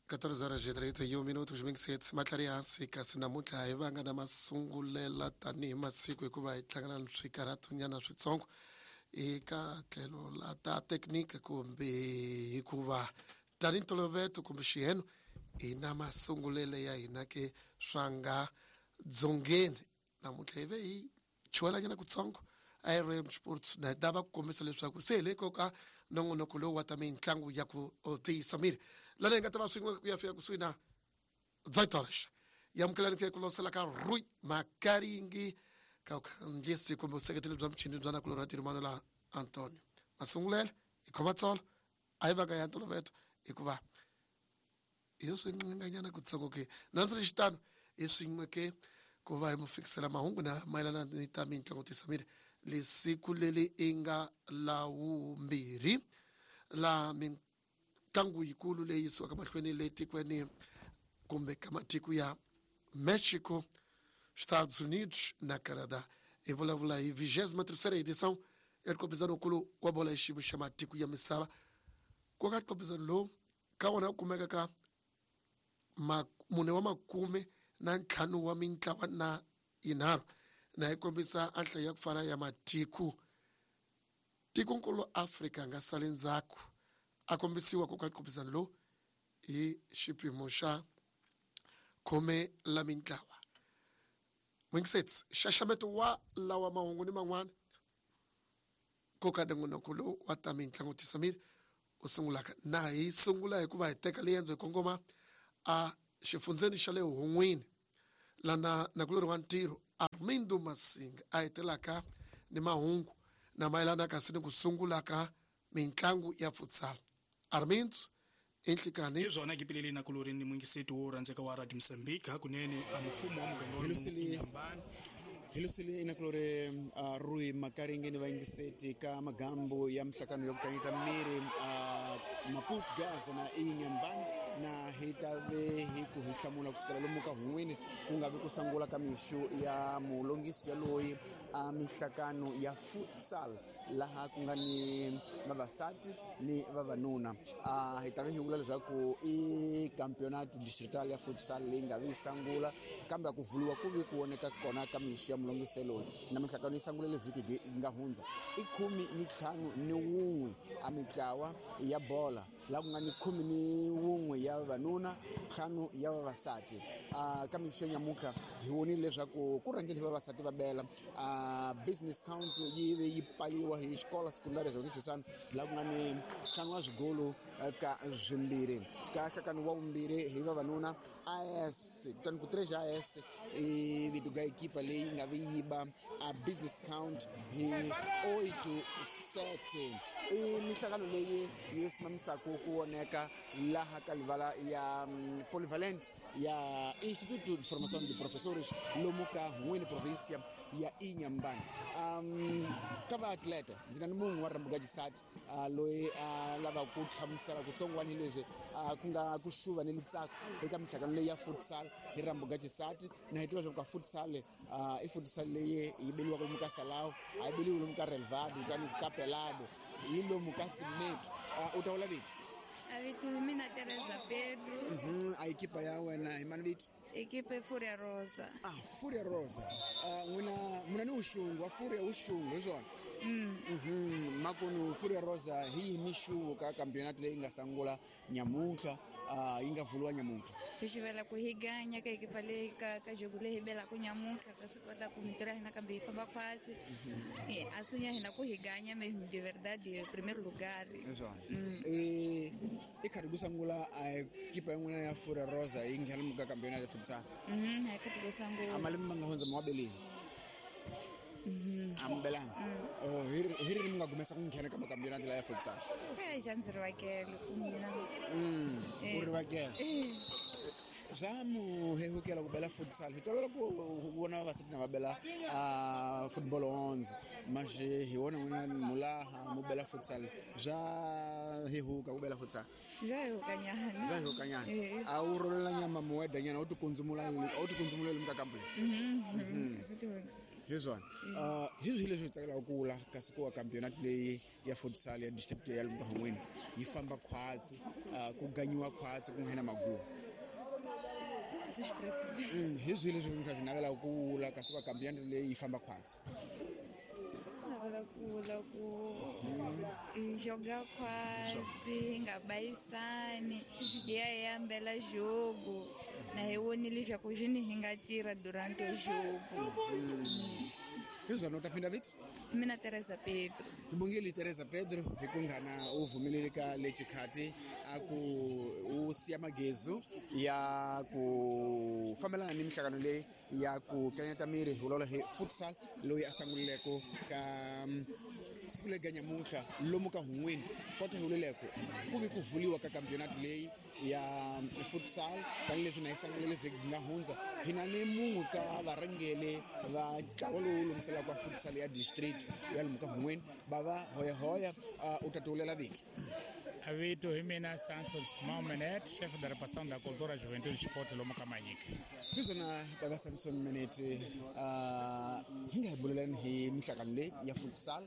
14 horas e 31 minutos 27 matlhari hansi kasi namuntlha hi vanga na masungulela tanihi masiku hikuva hi hlangana ni swikarhatonyana switsongo eka tlhelo la ta teknika kumbe hikuva tanihi ntolovelo kumbe xiheno hi na masungulelo ya hina ke swa nga dzongeni. Namuntlha hi ve hi chuwelanyana kutsongo IRM Sports na hi lava ku kombisa leswaku se hi le koka nongonoko lowu wa ta mitlangu ya ku tiyisa miri lana hi nga ta va swin'we ku ya fika kusuhi na 18 horas. Yamukelani ke ku losela ka Rui Makaringi ka vukhandziyisi kumbe vuseketeli bya muchini bya nakulorhi wa tirimano la Antonio Masungulela. Hi khoma tsolo a hi vaka ya ntolovelo hikuva hi swi nqinganyana kutsongo ke na xitano hi swin'we ke ku va hi mu fikisela mahungu na mayelana ni ta mitlangu tisa miri lesiku leri i nga lawumbirhi la mitlangu yikulu leyi yisiwaka mahlweni le tikweni kumbe ka matiko ya Mexico, Estados Unidos na Canada. Hi vulavula hi 23ª edição ya nqopizano-nkulu wa bola ya xiyimo xa matiko ya misava. Ku ka nqopizano lowu ka wona ku kumeka ka mune wa makume na ntlhanu wa mintlawa na yinharhu na yi kombisa a nhlayo ya ku fana ya matiko. Tikonkulu Afrika nga sali ndzhaku a kombisiwa ku ka nqopizano lowu hi xipimo xa khume la mintlawa. Mwingiseti xaxameto wa lawa mahungu ni man'wana ko ka nongonoko lowu wa ta mitlangu tisa miri u sungulaka na hi sungula hikuva hi teka liendzo hi kongoma a xifundzeni xa le Hun'wini lana nakulorhi wa ntirho Armindo Masinga a hetelaka ni mahungu na mayelana kasi ni ku sungula ka mitlangu ya futsal. Armindo, enhlikani. Hi swona kipileli nakulori ni mwingiseti wo rhandzeka wa Radio Mozambique. Hakunene a mfumo wa muganga wa Inhambane. Hilusile inakulore Rui Makaringe ni vayingiseti ka magambo ya mihlakano ya ku tlangeta miri Maputo Gaza na Inhambane na hi ta ve hi ku hi hlamula kusukela lomu ka Hun'wini ku nga vi ku sungula ka mixu ya mulongisi yaloyi a mihlakano ya futsal laha ku nga ni vavasati ni vavanuna. Hi ta ve hi vula leswaku i campeonato distrital ya futsal leyi nga vi yi sungula kambe a ku vuliwa ku vi ku voneka kona ka mixu ya mulongisi loyi na mihlakano yi sungulele vhiki yi nga hundza. I 11 a mitlawa ya bola laha ku nga ni 11 ya vavanuna, 5 ya vavasati. Ka mixo ya nyamuntlha hi vonile leswaku ku rhangile vavasati va bela Business Count yi ve yi pfaliwa hi xikolo secundária Joaquim Chissano laha ku nga ni 5 wa swigolo ka swimbirhi. Ka nhlakano wa vumbirhi hi vavanuna AS kutani ku 3 AS i vito ga ekipa leyi nga vi yi ba a Business Count hi 8-7. I mihlangano leyi yi simamisaka ku voneka laha ka livala ya polyvalent ya Instituto de Formação de Professores lomu ka Hun'wini provincia ya Inhambane. Ka vaatleta ndzi na ni munhu wa Rambuka Xisati loyi a lavaka ku hlamusela kutsongwana hi leswi ku nga ku xuva ni litsako eka mihlangano leyi ya futsal hi Rambuka Xisati. Na hi tiva leswaku ka futsal i futsal leyi yi beliwaka lomu ka Salao, a yi beliwi lomu ka relvado kutani ka pelado, yi lomu ka cement. U ta vula vito? A vito hi mina Teresa Pedro. A ekipa ya wena hi mani vito? Ekipa i Furia Rosa. Ah, Furia Rosa. N'wina muna ni uxungu wa Furia, uxungu hi swona? Makunu Furia Rosa hi yihi mixuvo ka campeonato leyi nga sungula nyamuntlha, yi nga vuliwa nyamuntlha? Hi xivela ku hi ganya ka ekipa leyi ka jogo leyi hi belaka nyamuntlha ka swi kota ku mintirho ya hina kambe yi famba khwatsi. A sunya hina ku hi ganya mesmo de verdade primeiro lugar. Hi swona. I khati ku sungula a ekipa ya n'wina ya Furia Rosa yi nghena ka campeonato ya futsal? Hi khati ku sungula. A malembe ma nga hundza ma wa beleni? A mi belanga? Oh, hi rini mi nga gumesa ku nghena ka macampeonato la ya futsal? Xa ndzi rivakele ku mina. U rivakele. Swa mu hehukela ku bela futsal? Hi tolovela ku vona vavasati na va bela football 11 manje hi wona n'wina mulaha mu bela futsal. Swa hehuka ku bela futsal? Swa hehuka nyana. Swa hehuka nyana. A wu rolela nyama muweda nyana, u tikundzumula, a wu tikundzumuleli muka kampu? Ndzi ti Hi swona. Hi swihi leswi tsakelaka ku vula kasi ku wa campionat leyi ya futsal ya district ya lomu ka Hungwini yi famba khwatsi, ku ganyiwa khwatsi ku nghena magugu. Hi swihi leswi mi kha swi navelaka ku vula kasi ku wa campionat leyi yi famba khwatsi? Navela ku vula ku hi joga khwatsi, hi nga bayisani, hi ya hi ambela jogo na hi vonile leswaku xini hi nga tirha durante jogo. Hi swona, u ta phinda vito? Mina Teresa Pedro. Hi bongile Teresa Pedro hi ku nghana u vumelele ka le xikhati a ku u siya magezu ya ku fambelana ni mihlangano leyi ya ku tlanyata miri hi vulavula hi futsal loyi a sangulileko ka siku leri nyamuntlha lomu ka Hungwini kota hi vuleleko ku vi ku vuliwa ka campionat leyi ya futsal tanihileswi na yi sangulele vhiki nga hundza. Hi na ni munhu ka varhangeli va ntlawa lowu lunghiselaka futsal ya district ya lomu ka Hungwini, bava hoyahoya. U ta tivulela vito? Vito hi mina Sanson Simão Menet, chefe da repartição da cultura, juventude e esporte lomu ka Manyika. Hi swona bava Samson Menet, hi nga hi bulelani hi mihlangano leyi ya futsal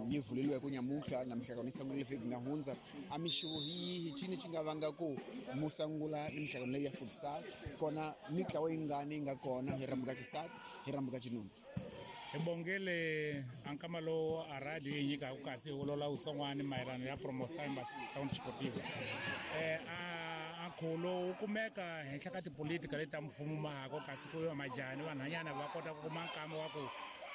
yi vuleliweke nyamuntlha na mihlangano yi sangulile vhiki nga hundza. A mixavo hi yihi, cini xi nga vanga ku mu sangula ni mihlangano leyi ya futsal kona, mitlawa yingani yi nga kona hi rhambu ka xisati, hi rhambu ka xinuna? Hi bongele a nkama lowu a radio yi nyikaka kasi hi wolola wutsongwani mayelana ya promoção ya sound sportiva. A nkhulo wu kumeka henhla ka tipolitika leti ta mfumo mahako kasi ku yo majaha ni vanhwanyana va kota ku kuma nkama wa ku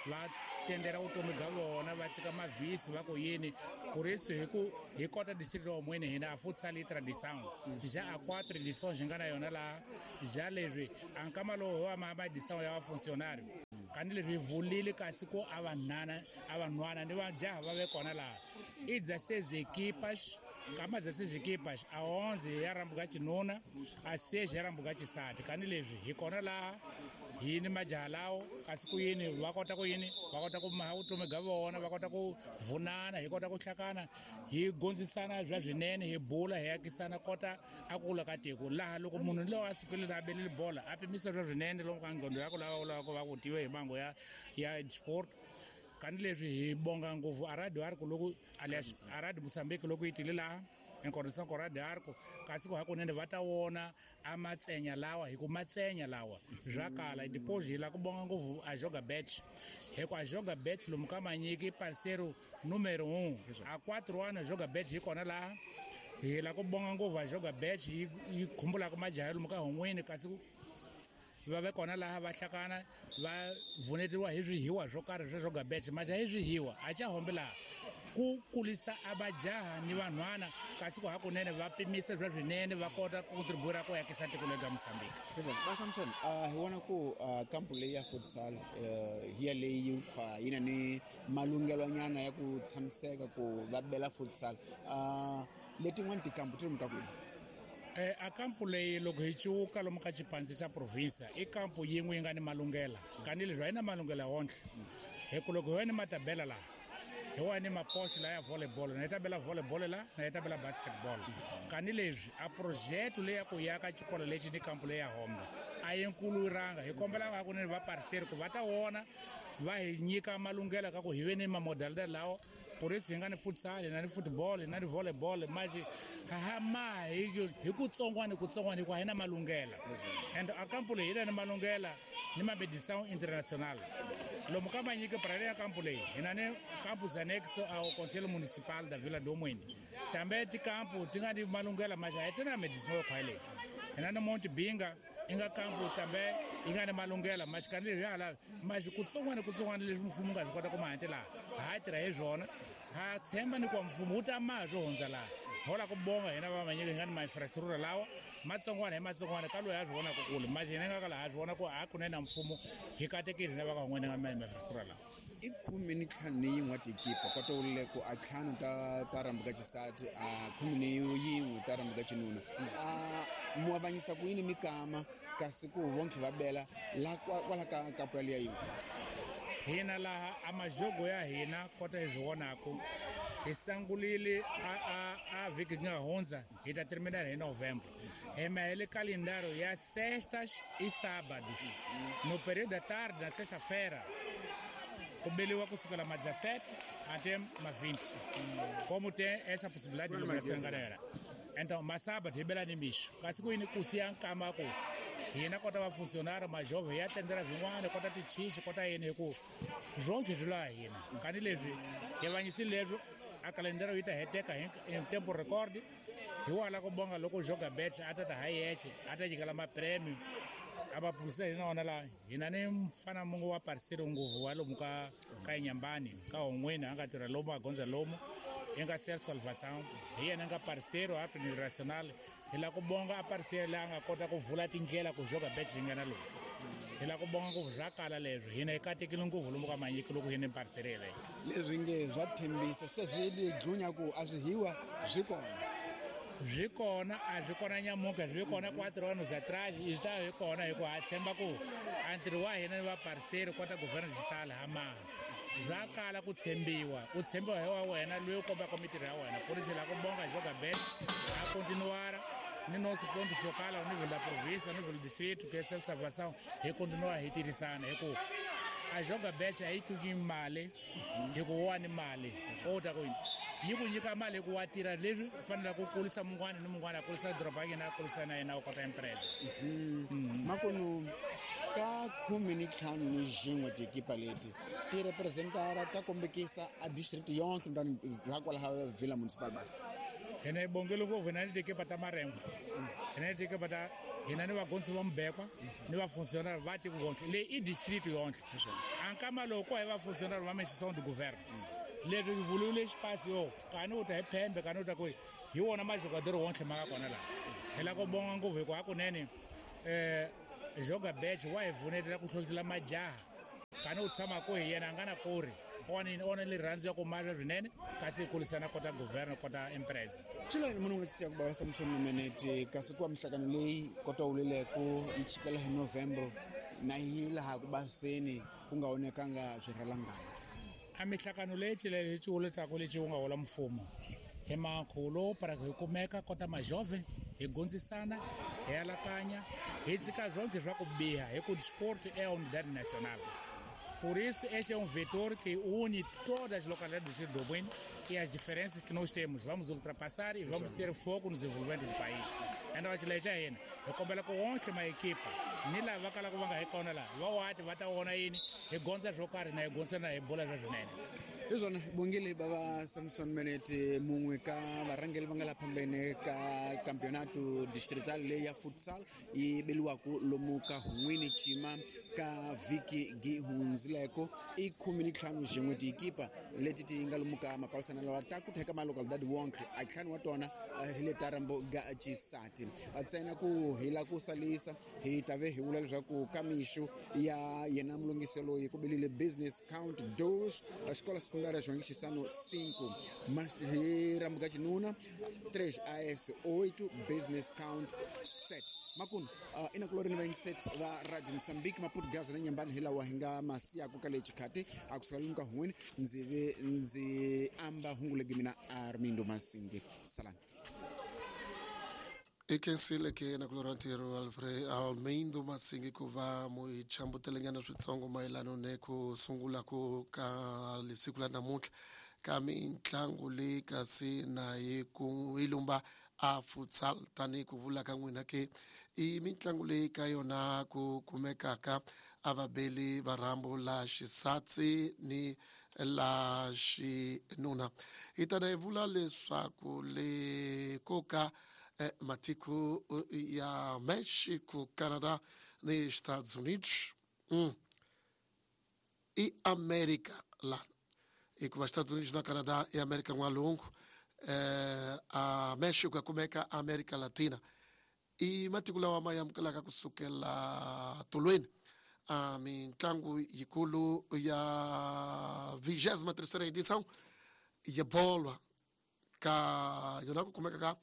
va tendela vutomi bya vona, va tshika mavhisi va ku yini. Por isso hi ku hi kota district wa Hungwini hina a futsal yi tradição já a 4 edições hi nga na yona laha. Ja leswi a nkama lowu hi wa ma edição ya vafuncionário kani leswi hi vulile kasi ku a vanhana a vanhwana ni vajaha va ve kona laha i 16 equipas, kama 16 equipas, a 11 ya rambuka xinuna, a 6 ya rambuka xisati. Kani leswi hi kona laha hi ni majaha lawo kasi ku yini va kota ku yini va kota ku maha vutomi bya vona, va kota ku vunana, hi kota ku hlakana, hi gondzisana bya swinene, hi bula, hi akisana kota a kula ka tiko laha. Loko munhu loyi a sukile a belele bola a pimisa swa swinene lomu ka ngqondo ya ku lava u lava ku va ku tive hi mango ya sport. Kani leswi hi bonga ngopfu a radio arco loko alias a radio Mozambique loko yi tile laha em coordenação com a Radio Arco kasi ku hakunene va ta wona a matsenya lawa hi ku matsenya lawa swa kala. Depois hi la ku bonga ngopfu a joga bet hi ku a joga bet lomu ka Manyiki parceiro número 1 a 4 anos joga bet hi kona laha. Hi la ku bonga ngopfu a joga bet yi khumbulaka majaha lomu ka Hungwini kasi va ve kona laha va hlakana va vunetiwa hi swihiwa swo karhi swa joga bet. Majaha hi swihiwa a xa hombe laha ku kulisa a majaha ni vanhwana kasi ku hakunene va pimisa swa swinene va kota ku contribuir ku yakisa tiko lega Mozambique. Ba Samson, hi vona ku kampu leyi ya futsal hi ya leyi yi na ni malunghelonyana ya ku tshamiseka ku va bela futsal. Letin'wana tikampu ti lomu ka kwihi? A kampu leyi loko hi cuka lomu ka xipandzi xa provinsia i kampu yin'we yi nga ni malunghela kani leswi a yi na malunghela wonhle hi ku loko hi va ni matabela laha hi wa ni mapoxo la ya volleyball na yi ta bela volleyball la na yi ta bela basketball. Kani leswi a projeto leyi ya ku yaka xikolo lexi ni kampu leyi ya hombe a yi nkuluranga. Hi kombela hakunene va parcel ku va ta wona va hi nyika malunghelo ka ku hi ve ni mamodalidad lawa. Por isso hi nga ni futsal, hi na ni football, hi na ni volleyball manje ha ma hi kutsongwana kutsongwana hikuva hi na malunghela. And a kampu leyi hi na ni malunghela ni mabedição internacional lomu ka Manyiki para ya kampu leyi hi na ni campus anexo ao Conselho Municipal da Vila do Muene tambe tikampu ti nga ni malunghela manje a hi ti na medição yo khwayeleni. Hi na ni Monte Binga i nga kampu tambe yi nga ni malunghela manje kani leswi hala manje kutsongwana kutsongwana leswi mfumo nga swi kota ku ma laha ha tirha hi swona. Ha tshemba ni ku mfumo wu ta maha swo hundza laha hola ku bonga hina va Manyiki hi nga ni ma-infrastructure lawa matsongwana hi matsongwana ka loyi a swi vonaka kule manje hina nga ka laha swi vona ku hakunene na mfumo hi katekile hina va ka n'wina nga ma-infrastructure lawa. I 11 wa tikipa kota wulile ku a 5 ta rambuka xisati, a 11 ta rambuka xinuna. A mu avanyisa ku yini mikama kasi ku vonke va bela la kwala ka kampu yaliya yin'we? Hina laha a majogo ya hina kota hi swi vonaku Hi sangulile a vhiki nga hundza hi ta terminar hi novembro. Hi mahele calendário ya sextas e sábados. No período da tarde, na sexta-feira, ku beliwa kusukela ma 17 até ma 20. Como tem essa possibilidade de liberação, galera. Então, ma sábado hi bela ni mixo. Kasi ku yini ku siya nkama ku hina kota va funcionário ma jovem hi ya tendela vin'wana kota tichichi kota yini hi ku swonke swi laha hina. Kani leswi hi vanyisile leswi a calendário yi ta heteka hi tempo record. Hi wala ku bonga loko joga bet a ta ta ha yeche a ta nyikela mapremio a va phusela hina wona laha hina ni mfana mungu wa parceiro nguvu wa lomu ka Inhambane ka Hon'wini a nga tirha lomu a gondza lomu i nga ser salvação hi yena nga parceiro international. Hi lava ku bonga a parceiro leyi a nga kota ku vula tindlela ku joga bet yi nga na lowu. Hi lava ku bonga ku swa kala leswi hina hi katekile ngopfu lomu ka Manyiki loko hi ni parceiro yeleyo. Leswi nge swa tshembisa se swi le dlunya ku a swi hiwa swi kona. Swi kona a swi kona nyamuka swi kona 4 anos atrás e está hi kona hi ku ha tshemba ku a ntirho wa hina ni va parceiro kota governo digital ha maha. Swa kala ku tshembiwa, u tshembiwa hi wa wena loyi u kombaka mitirho ya wena. Por isso hi lava ku bonga joga bet a continuar ni nosso ponto focal ao nível da província, ao nível do distrito, que é a salvação, hi continua hi tirhisana hi ku a joga bet a yi ku mali hi ku wa ni mali o ta ku yi ku nyika mali ku wa tirha leswi fanele ku kulisa mun'wana ni mun'wana a kulisa doroba ya yena a kulisa na yena u kota empresa. Makunu ka 15 ni xin'we tiekipa leti ti representara ta kombekisa a district yonke ndani ra kwalaha Vila Municipal ba. Hina hi bongele ngopfu hina ni tiekipa ta Marengo, hina ni tiekipa ta hina ni vagonsi va mubekwa ni vafuncionário va tiko yonke leyi i district yonke. A nkama lowu ko hi vafuncionário va instituição do governo. Leswi vuliwile xipasi yo kani u ta hi phembe kani u ta kwihi hi wona majogador wonke ma nga kona laha. Hi lava ku bonga ngopfu hikuva hakunene joga bet wa hi pfunetela ku hlohlotela majaha kani u tshama ku hi yena a nga na kori ona rirhandzu ya ku mala swinene kasi hi kulisana kota governo kota empresa. Chilani munhu nga siya ku ba Samson Menete kasi ku mihlangano leyi kota wulileko yi chikela hi November na hi laha ku baseni ku nga onekanga swirhalanganya. A mihlangano leyi chilele yi wuletaku lexi wu nga hola mfumo hi mankhulo para hi kumeka kota majove hi gondzisana hi alakanya hi tshika swonke swa ku biha hi ku sport é a unidade nacional. Por isso, este é um vetor que une todas as localidades do Distrito do Bueno e as diferenças que nós temos. Vamos ultrapassar e vamos ter foco no desenvolvimento do país. Ainda vai te levar ainda. Eu kombela ku wonke ma equipa ni lava kala ku va nga hi kona laha va wati va ta vona yini hi gondza swo karhi na hi gondza na hi bola swa swinene. Hi swona bongile bava Samson Menete mun'we ka varhangeri va nga laha phambene ka campeonato distrital leyi ya futsal yi beliwaku lomu ka Hun'wini Chima ka vhiki gi hundzileko i 15 xin'we tiekipa leti ti nga lomu ka mapalisana lawa ta ku theka malocalidade wonke a ntlhanu wa tona hi le ta rambo ga xisati ntsena ku hi la ku salisa hi ta ve hi vula leswaku ka mixo ya yena mulungisi loyi ku belile business count dos xikola secundária João Chissano 5 mas hi rambo ga xinuna 3 AS 8 business count 7 makunu ina kulori ni vaingiset va Radio Mozambique Maputo Gaza na Nyambani hi lawa hi nga masiyaku ka lexi khati a kusuka lomu ka Hun'wini ndzi ve ndzi amba hungu legi mina Armindo Masingi salani. I khensile ke na ku lorha ntirho Alfred Almeindo Masingi ku va mu chambutelenyana switsongo mayelano ne ku sungula ku ka siku la namuntlha ka mitlangu leyi kasi na yi ku yi lumba a futsal tanihi ku vula ka n'wina ke i mitlangu leyi ka yona ku kumekaka a vabeli va rhambu la xisatsi ni la xinuna. Hi tana hi vula leswaku le ko ka matiko ya Mexico, Canadá ni Estados Unidos e América lá. Hikuva Estados Unidos na Canadá e América N'walungu, a Mexico kumeka América Latina i matiko lawa ma amukelaka kusukela tolweni a mitlangu yikulu ya 23ª edição ya bolo ka yona ku kumeka ka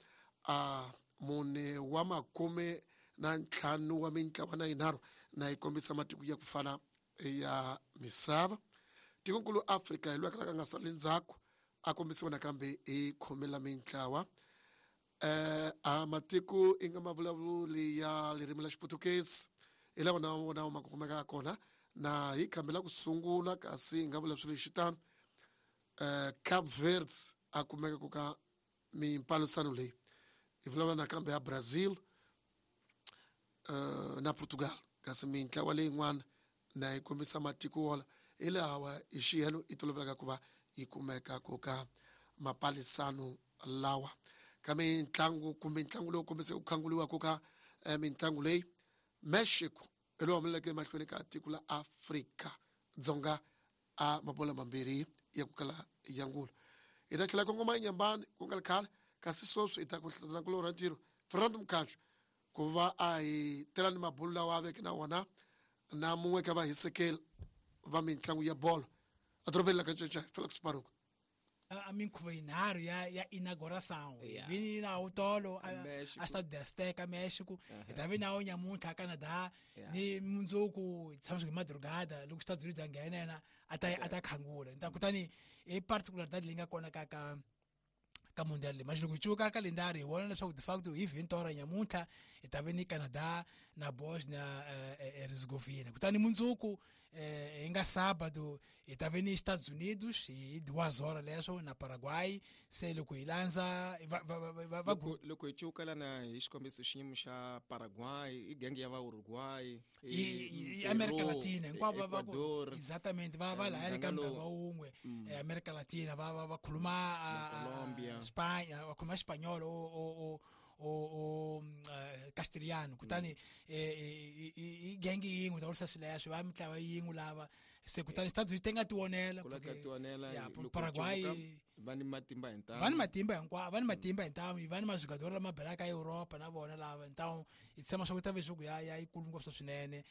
a mune wa 45 wa mintlawa na yinharhu na yi kombisa matiko ya ku fana ya misava. Tikonkulu Afrika hi loyi a kalaka a nga sali ndzhaku. A kombisiwa nakambe hi khume la mintlawa. A matiko i nga mavulavuli ya ririmi la Xiputukezi hi lawa na wona ma kumekaka kona na hi khambi la ku sungula, kasi hi nga vula swilo xitano Cape Verde a kumeka ku ka mimpalusano leyi. Hi vulavula nakambe ya Brazil na Portugal, kasi mintlawa leyin'wana na yi kombisa matiko wola hi lawa hi xiyelo i tolovelaka ku va yi kumeka ku ka mapalisano lawa. Ka mitlangu kumbe ntlangu lowu kombiseke ku khanguliwa ku ka mitlangu leyi, Mexico hi lowu humeleleke emahlweni ka tiko la Afrika Dzonga a mabola mambirhi ya ku kala ya ngula. Hi ta tlhela kongoma eNyambani ku nga ri khale, kasi sweswi hi ta ku hlatana kulorha ntirho Fernando Mkhatshwa ku va a hi tela ni mabulu lawa a veke na wona na mun'we ka vahisekeli va mitlangu ya bolo edorobeni la ka Ncancai, Felix Baruku. A minkhuvo yinharhu ya inauguração vi na tolo a Stade de Azteca Mexico, hi ta vi na nyamuntlha a Canada ni mundzuku tshama swi madrugada loko Estados Unidos a nghena yena a ta khangula. Kutani i particularidade leyi nga kona ka mundial leyi. Manje loko hi cuka kalendari hi vona leswaku de facto hi 20 nyamuntlha hi ta vi ni Canada na Bosnia Herzegovina. Kutani mundzuku hi nga sábado hi ta vi ni Estados Unidos hi 2 leswo na Paraguay. Se loko hi landza loko hi cuka lana hi xikombiso xiyimo xa Paraguay i genge ya va Uruguay i America Latina hinkwavo va exactamente va lahaya ka muganga wun'we. America Latina va khuluma Colombia, Spain, va khuluma Espanol o Castilhano. Kutani i genge yin'we ta vurisa swileswo va mitlawa yin'we lava se kutani Estados Unidos ti nga tionela Paraguay va ni matimba hintamu, va ni matimba hinkwavo, va ni matimba hintamu, va ni majugador lama belaka Europa na vona lava. Então i tshama swa ku ta ve jogo ya yikulu ngopfu swinene.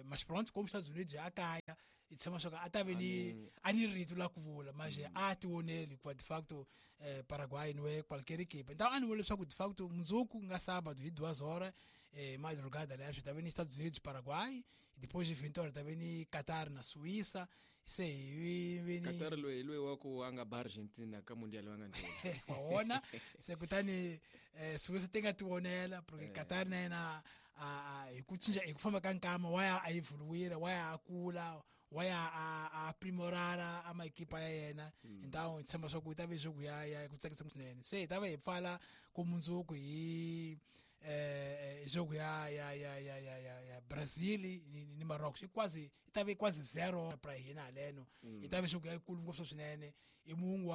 Mas pronto como Estados Unidos a kaya i tshama swa ku a ta ve ni a ni rito la ku vula manje a tioneli hikuva de facto Paraguay no é qualquer equipe. Então a ni vula leswaku de facto mundzuku nga sábado hi 2 madrugada leswo ta ve ni Estados Unidos Paraguay, depois de 20 ta ve ni Qatar na Suíça. Se hi ni Qatar loyi wa ku a nga ba Argentina ka mundial wa nga ndlela wa se kutani Suíça ti nga tionela porque Qatar na yena hi ku cinca hi ku famba ka nkama wa ya a evoluir, wa ya a kula, wa ya a aprimorara a maekipa ya yena. Então hi tshemba swa ku ta ve jogo ya ku tsakisa swinene. Se hi ta va hi pfala ku mundzuku hi jogo ya Brazil ni Marrocos. I quase i ta ve quase 0 pra hina haleno. I ta ve jogo ya yikulu ngopfu swinene. I munhu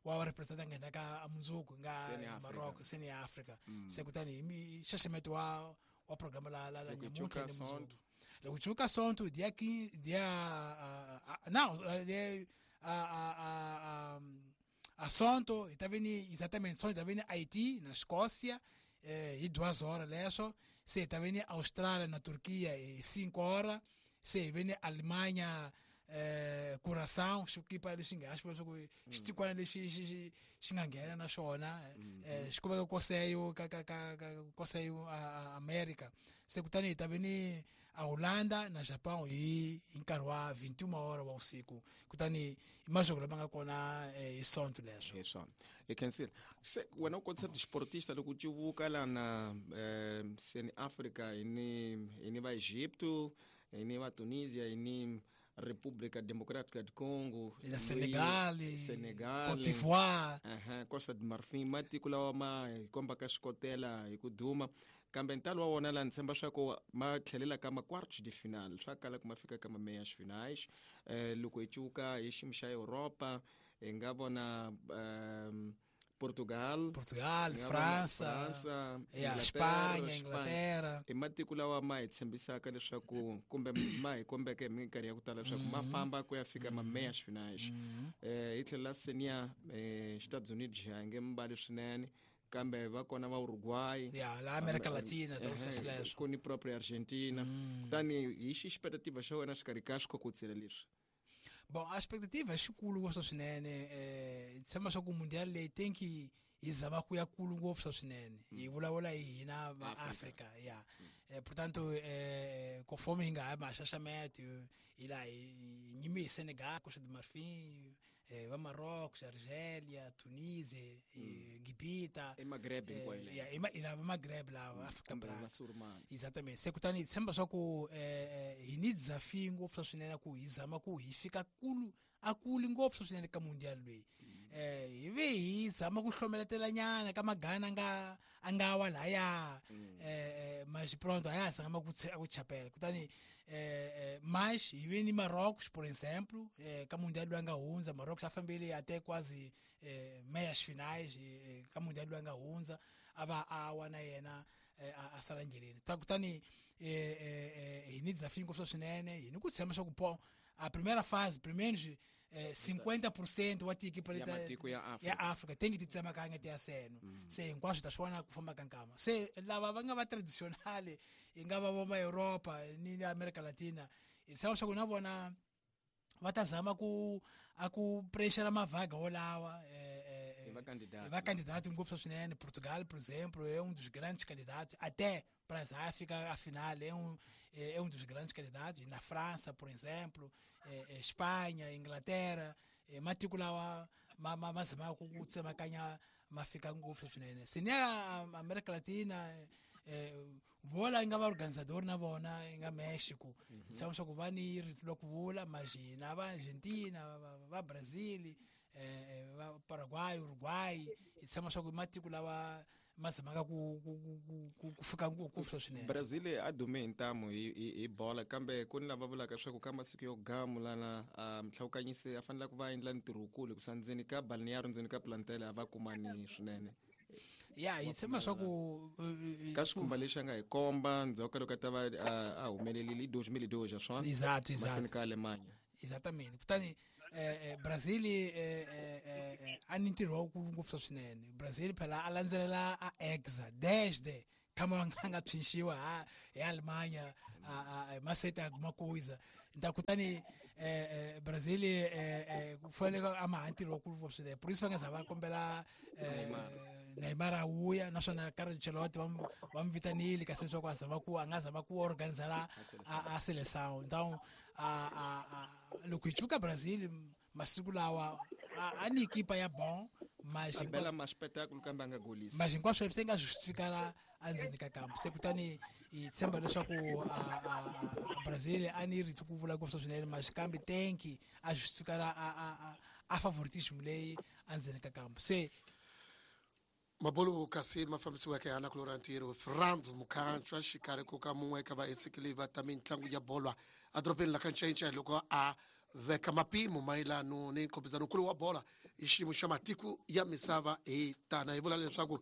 wa representa nghena ka mundzuku nga Marrocos seni ya Africa. Se kutani hi xaxameto wa programa la nyamuntlha ni mundzuku. Loko cuka sonto dia 15 dia não a sonto hi ta ve ni exatamente sonto hi ta ve ni Haiti na Escócia hi 2 leswo. Se hi ta ve ni Austrália na Turquia hi 5. Se hi ve ni Alemanha Curaçao xikipa lexi nga xi leswaku xitikwana lexi xi nga nghena na xona xi kumeka koseyo ka koseyo America. Se kutani hi ta ve ni a Holanda na Japão hi nkarhi wa 21 wa usiku. Kutani i majoko lama nga kona hi sonto leswo. Hi swona. I cancel. Se wena u kotisa disportista loko u civuka lana seni Africa hi ni va Egipto, hi ni va Tunisia, hi ni República Democrática do Congo, na Senegal, Côte d'Ivoire, Costa de Marfim, matiko lawa ma hi kombaka xikotela hi ku duma. Kambe ntalo wa wona la ni tshemba swa ku ma tlhelela ka ma quartos de final, swa kala ku ma fika ka ma meias finais. Loko hi cuka hi xiyimo xa Europa hi nga vona Portugal, França, Espanha, Inglaterra. I matiko lawa ma hi tshembisaka leswaku kumbe ma hi kombeke hi minkarhi ya ku tala leswaku ma famba ku ya fika ma meias finais. Hi tlhela senior Estados Unidos hi nge mbali swinene, kambe va kona va Uruguay, la America Latina, ku ni propria Argentina. Kutani hi xi expectativa xa wena xikarhi ka swikhokotsela leswi? Bom, a expectativa é xikulu ngopfu swinene. Tshemba swa ku mundial leyi tenki hi zama ku ya kulu ngopfu swinene. Hi vulavula hi hina va Africa, ya. Portanto, conforme hi nga ha maxaxameto hi laha hi nyime hi Senegal, Costa de Marfim, Va Marrocos, Argelia, Tunisia, Gibita, I Maghreb hinkwayo leyo. Ya, i lava Maghreb lava Afrika Kumbe Bra. Vasurumani. Exatamente. Se kutani hi tshemba swa ku hi ni desafio ngopfu swa swinene ku hi zama ku hi fika kulu a kuli ngopfu swa swinene ka mundial loyi. Hi ve hi zama ku hlomeletela nyana ka magana nga a nga wa laya, mas pronto a ya zama ku chapela. Kutani mas hi ve ni Marrocos, por exemplo, ka mundial loyi a nga hundza. Marrocos a fambile até quase meias finais ka mundial loyi a nga hundza, a va a wa na yena a sala ndleleni. Ta kutani hi ni desafio ngopfu swa swinene, hi ni ku tshemba swa ku po a primeira fase pelo menos 50% wa tiekipa Ya leta matiko ya Afrika. Ya Afrika tengi ti tsemakanya ti ya seno. Se hinkwaswo ta swi vona ku famba ka nkama. Se lava va nga va traditional, hi nga va va Europa ni America Latina, hi tshemba swa ku na vona va ta zama ku a ku pressure mavaga wolawa Hi va candidato. Hi va candidato ngopfu swa swinene. Portugal, por exemplo, é um dos grandes candidatos até para a África a final, é um dos grandes candidatos. E na França, por exemplo, Espanha, Inglaterra, matiko lawa ma zama ku tsemakanya ma fika ngopfu swinene. Se ni a America Latina, vola yi nga va organizador na vona yi nga Mexico, hi tshama swa ku va ni rito lo ku vula. Mas na va Argentina, va Brazil, va Paraguay, Uruguay, hi tshama swa ku matiko lawa ma zamaka ku fika ngopfu swinene. Brazil a dume hi ntamu hi bola, kambe ku ni lava vulaka leswaku ka masiku yo gamu lana mhlawukanyisi a fanele ku va endla ntirho wukulu hikusa ndzeni ka balneário, ndzeni ka plantel, a va kumani swinene. Ya, hi tshemba swa ku ka xikhumba lexi a nga hi komba ndzhaku ka loko a ta va a humelelile i 2002 swona Exato, exato. Mahlweni ka Alemanha. Exatamente. Kutani Brazil a ni ntirho wukulu ngopfu swinene. Brazil phela a landzelela a hexa desde kama a nga psinxiwa ha hi Alemanha a masete alguma coisa. Então kutani Brazil ku fanele a ma ha ntirho wukulu ngopfu swinene, por isso va nga za va kombela Neymar a vuya. Naswona Carlo Ancelotti va n'wi vitanile kasi leswaku a zama ku a nga zama ku organizar a seleção. Então a loko hi chuka Brazil masiku lawa a ni ekipa ya bon, mas a bela ma espetáculo kambe a nga golisi. Mas hinkwaswo swi nga justifikala endzeni ka kampo. Se kutani hi tshemba leswaku a Brazil a ni rito ku vula ngopfu swinene, mas kambe tenki a justifikala a favoritismo leyi endzeni ka kampo se. Mabolo kasi ma fambisiweke hi anakulora ntirho Fernando Mukhanchwa xikarhi ko ka mun'we ka vaesekeli ta mitlangu ya bolo edorobeni la ka Ncence loko a veka mapimo mayelano ni nkhopizano nkulu wa bola hi xiyimo xa matiko ya misava. Hi tana hi vula leswaku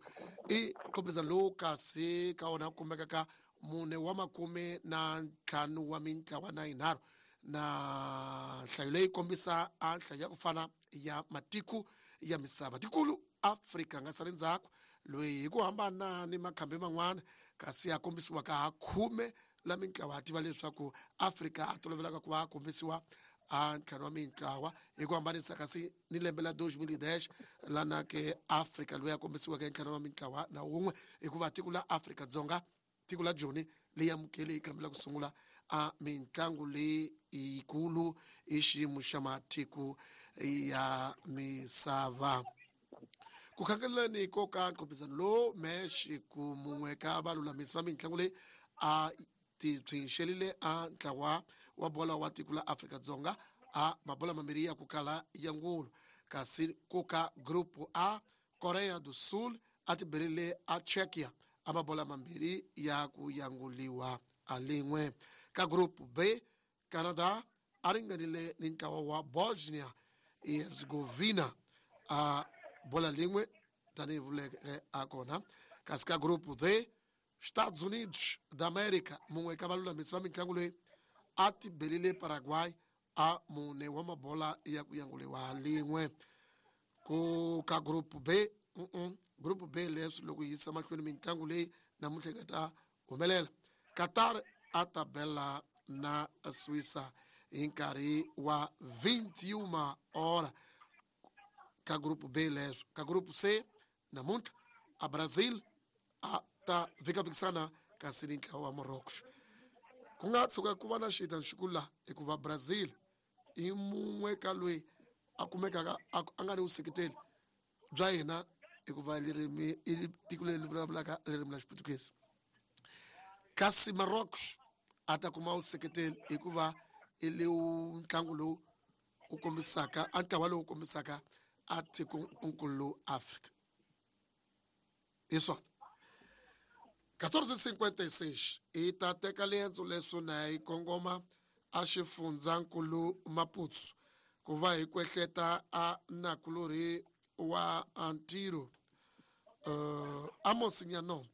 i nkhopizano lowu kasi ka wona kumeka ka mune wa makume na ntlhanu wa mintlawa na yinharhu, na nhlayo leyi kombisa a nhlayo ya ku fana ya matiko ya misava tikulu. Afrika nga sali ndzhaku loyi hi ku hambana ni makhambi man'wana kasi ya kombisiwaka ha khume la mintlawa. Ha tiva leswaku Afrika a tolovelaka ku va a kombisiwa a ntlhanu wa mintlawa, hi ku hambanisa kasi ni lembe la 2010 lana ke Afrika loyi a kombisiweke ntlhanu wa mintlawa na wun'we, hikuva tiko la Afrika Dzonga, tiko la Joni, leyi amukele yi kambela ku sungula a mitlangu leyi yikulu hi xiyimo xa matiko ya misava. Ku khangeleni ko ka nkhopizano lowu Mexico, mun'we ka valulamisi va mitlangu leyi a ti psinxelile a ntlawa wa bola wa tiko la Afrika-Dzonga a mabola mambirhi ya ku kala ya ngulu. Kasi ku ka Group A, Korea do Sul a ti berile a Czechia a mabola mambirhi ya ku yanguliwa a lin'we. Ka Group B, Canada a ringanile ni ntlawa wa Bosnia Herzegovina a bola lin'we tanihi vuleke a kona. Kasi ka Group D, Estados Unidos da América, mun'we ka valulamisi va mitlangu leyi a ti belile Paraguay a mune wa mabola ya ku yanguliwa lin'we. Ku ka Group B, Group B leswi loko yisa mahlweni mitlangu leyi namuntlha yi nga ta humelela, Qatar a ta bela na Suíça hi nkarhi wa 21 hora ka Group B leswo. Ka Group C namuntlha a Brazil a ta vhikavikisana kasi ni ntlawa wa Morocco. Ku nga tshuka ku va na xita nxuku laha, hikuva Brazil i mun'we ka loyi a kumekaka a nga ni vuseketeli bya hina hikuva ririmi i tiko leri vulavulaka ririmi la Xiputukezi. Kasi Marocos a ta kuma vuseketeli hikuva i lewu ntlangu lowu wu kombisaka a ntlawa lowu kombisaka a tikonkulu Afrika. Hi swona 14:56 hi ta teka liendzo leswo na hi kongoma a xifundzankulu Maputo ku va hi kwehleta a nakulorhi wa ntirho Amos Nyanombe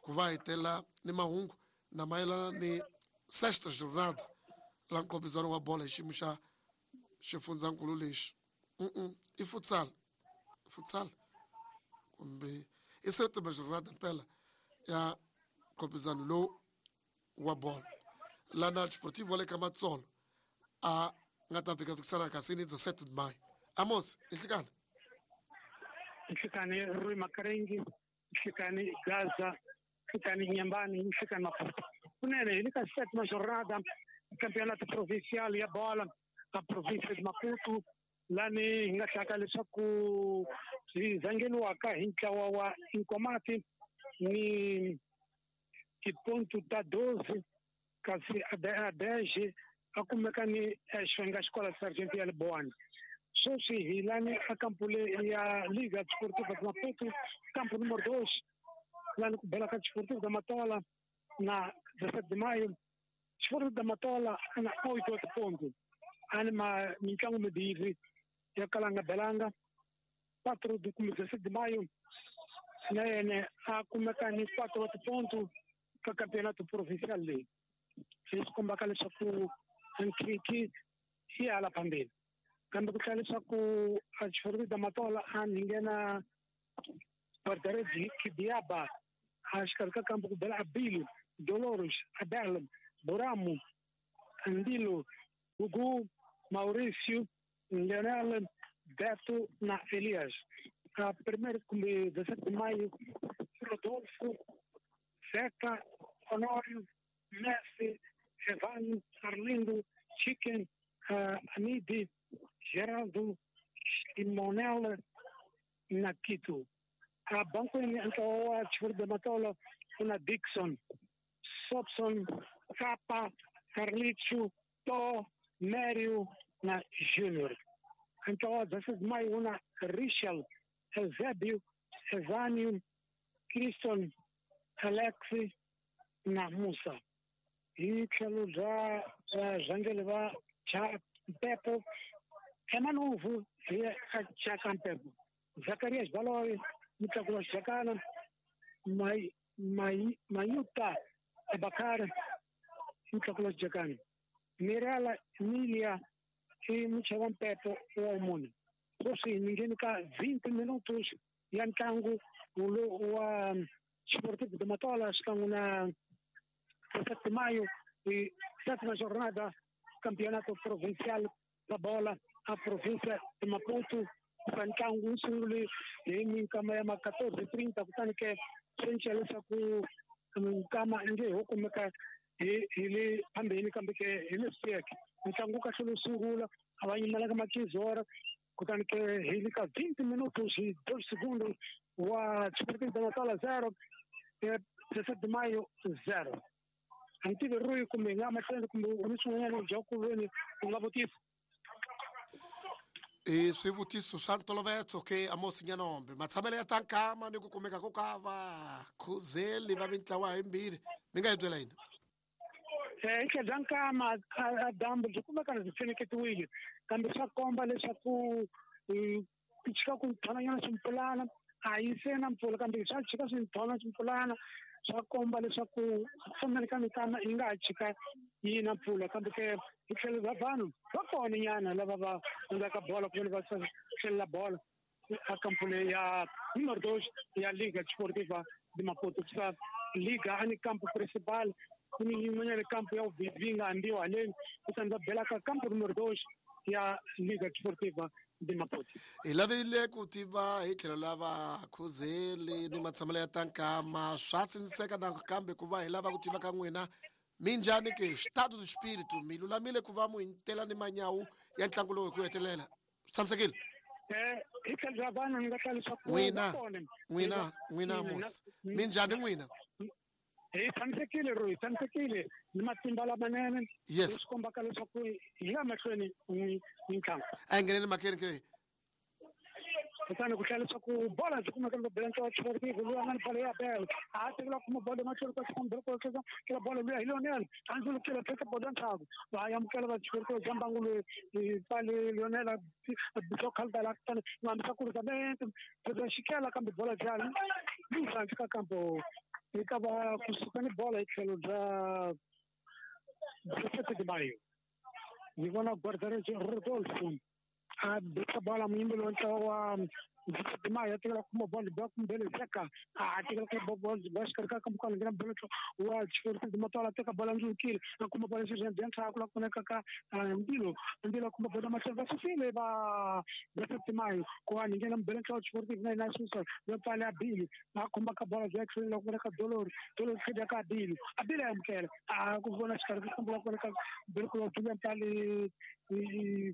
ku va hi tela ni mahungu na mayelana ni sexta jornada la nkhopizano wa bolo hi xiyimo xa xifundzankulu lexi. I futsal, futsal kumbe i sétima jornada mpela ya nkhopizano lowu wa bolo lana Sportivo wa le ka Matsolo a nga ta fika fikisana kasi ni 17 de maio. Amos, nhlikani. Nhlikani Rui Makarengi, nhlikani Gaza, nhlikani Nyambani, nhlikani Maputo. Kunene hi le ka sétima jornada campeonato provincial ya bola a província de Maputo, lani hi nga hlaka leswaku hi zangeliwaka hi ntlawa wa Inkomati ni tipontu ta 12, kasi a 10 a kumeka ni Xvenga Xikola Sargent ya Liboani. Sweswi hi lani a kampo le ya Liga Desportiva de Maputo, campo número 2, lani ku bela ka Desportivo da Matola na 17 de maio. Desportivo da Matola na 8 wa tipontu, ani ma mitlangu mimbirhi ya kalanga belanga 4 de kumbe 17 de maio na yena a kumeka ni 4 wa tipontu ka campeonato provincial leyi, leswi kombaka leswaku nkhinkhi yi hala phambili. Kambe ku tlhela leswaku a Desportivo da Matola a ni nghena Guardaredi Kidiaba, a xikarhi ka kampo ku bela Abilo, Dolores, Abel, Boramo, Andilo, Gugu, Mauricio, Leonel, Beto na Elias. A primeiro kumbe 17 de maio, Rodolfo, Zeca, Honório, Messi, Evan, Arlindo, Chicken, Amidi, Geraldo, Simonel na Quito. A banco ntlawa wa Desportivo da Matola ku na Dixon, Sobson, Capa, Carlicho, To, Mério na Júnior. Ntlawa wa 17 de maio wu na Richel, Eusébio, Evanio, Criston, Alexi na Musa. Hi tlhelo bya varhangeri va cha Mpepo, Emanuvu hi a Chaka Mpepo, Zacarias Baloyi, Mutlaku wa Xijakana, Mayuta Abakar, Mutlaku wa Xijakana, Mirela Emilia i muchava Mpepo wa mune. Sweswi ni ngheni ka 20 minutos ya ntlangu wa Sportivo de Matola xikan'we na 17 de maio e sétima jornada campeonato provincial da bola a província de Maputo. Ka ntlangu wu sungule hi minkama ya ma 14:30, kutani ke swi cinca leswaku nkama nge ho kumeka hi le phambeni, kambe ke hi leswi siyeke ntlangu kahle lowu sungula a va yimelaka makizora. Kutani ke hi le ka 20 minutos hi 2 segundos wa Sportivo da Matola 0, 17 de maio 0. A ni tivi Rui kumbe hi nga mahlweni kumbe u ni swin'wanyana u dya ku veni u nga vutisa. I swivutiso swa ntolovelo ke Amos Nyanombe, matshamelo ya tankama ni ku kumeka ko ka va khuzeli va mintlawa himbirhi, mi nga hi byela yini? Hi tlhelo bya nkama a dyambu byi kumeka byi feneketiwile, kambe swa komba leswaku ku chika ku nthonanyana swimpfulana. A yi se na mpfula, kambe swa chika swinthona swimpfulana, swa komba leswaku fambeni ka mikama yi nga ha chika yi na mpfula. Kambe ke hi tlhelo bya vanhu va kona nyana lava va endlaka bola kumbe va tlhelela bola a kampo leyi ya número 2 ya Liga Desportiva de Maputo. Kusa liga a ni campo principal, ku ni yin'wanyana campo ya vumbirhi yi nga ambiwa haleni, kutani va bela ka campo número 2 ya Liga Desportiva de Maputo. Hi lavile ku tiva hi tlhelo lava khuzeli ni matshamelo ya tankama swa sindziseka nakambe ku va hi lava ku tiva ka n'wina minjhani ke estado do espírito, mi lulamile ku va mu hitela ni manyawu ya ntlangu lowu hi ku hetelela. Swi Tshamisekile. Hi tlhelo ra vana ni nga hlaya leswaku N'wina, n'wina, n'wina mos. Minjhani n'wina? Hi tshamisekile ro hi tshamisekile ni matimba lamanene. Yes. Leswi kombaka leswaku hi ya mahlweni ni mitlangu. A hi ngheneni makeni ke. Kutani ku hlaya leswaku bola byi kumeka loko bela ntlawa Sportive loyi a nga ni bolo ya bela a tekela kuma bolo emahlweni ka xikombelo ko kela bolo luya hi Lionel a ndzulukile teka bolo ya ntlhaku va amukela va Chikorikoro bya mbangu loyi pale Lionel byo khalidala kutani ngambisa ku rizamente bya xikela kambe bola bya luza ka kampo yi ta va kusuka ni bola hi tlhelo bya 17 de Maio. Ni vona guarda-redes Rodolfo a betsa bola muyimbeli wa ntlawa wa 17 de Maio a tekela kuma bolo ba kumbele Zeka a tekela kuma bolo ba xikarhi ka kampo nghena bolo wa Chikorikoro de Matola teka bola ndzulukile a kuma bola xi bya ntlhaku la kumeka ka Ndilo Ndilo kuma bola mahlweni va susile va 17 de Maio ku va nghena mbele ntlawa Chikorikoro na yena susa yo pfala Bili a khumba ka bola bya tlhelo la kumeka Dolori Dolori tlhela ka Bili a Bili a amukela a ku vona xikarhi ka kampo la kumeka bolo ku va pfale